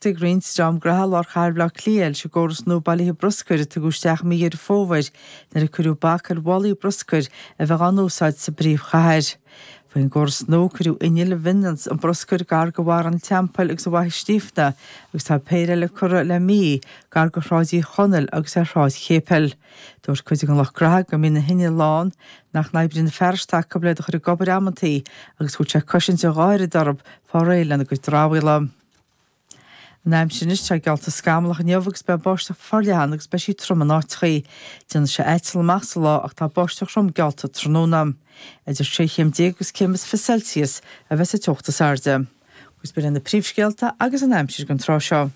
Feirste ag roinnt dream gnaithe i lár chathair Bhaile Átha Cliath leis an gcóras nua bailithe bruscair a tugadh isteach i mí Dheireadh Fómhair nuair a cuireadh bac ar mhálaí bruscair a bheith á n-úsáid sa bpríomhchathair. Faoin gcóras nua cuireadh innill a bhaineanns an bruscar gar do Bharra an Teampaill agus ar Fhaiche Stiabhna agus tá péire eile curtha le mí gar do Shráid Uí Chonaill agus ar Shráid Chéipil. Dúirt cuid den lucht gnaithe go mbíonn na hinnill lán, nach n-oibríonn na fearais atá acu le iad a chur ag obair amantaí agus go bhfuil sé ag cosaint a dhá oiread orthu fáil réidh lena gcuid dramhaíola. An aimsir anois, tá geallta scamallach inniu agus beidh báisteach forleathan agus beidh sí trom in áiteachaí. Déanfaidh sé aiteal amach sa lá ach tá báisteach throm geallta tráthnóna. Idir 16 chéim agus céim is 20 Celsius a bheas an teocht is airde. Agus b'in iad na príomhscéalta agus an aimsir don tráth seo.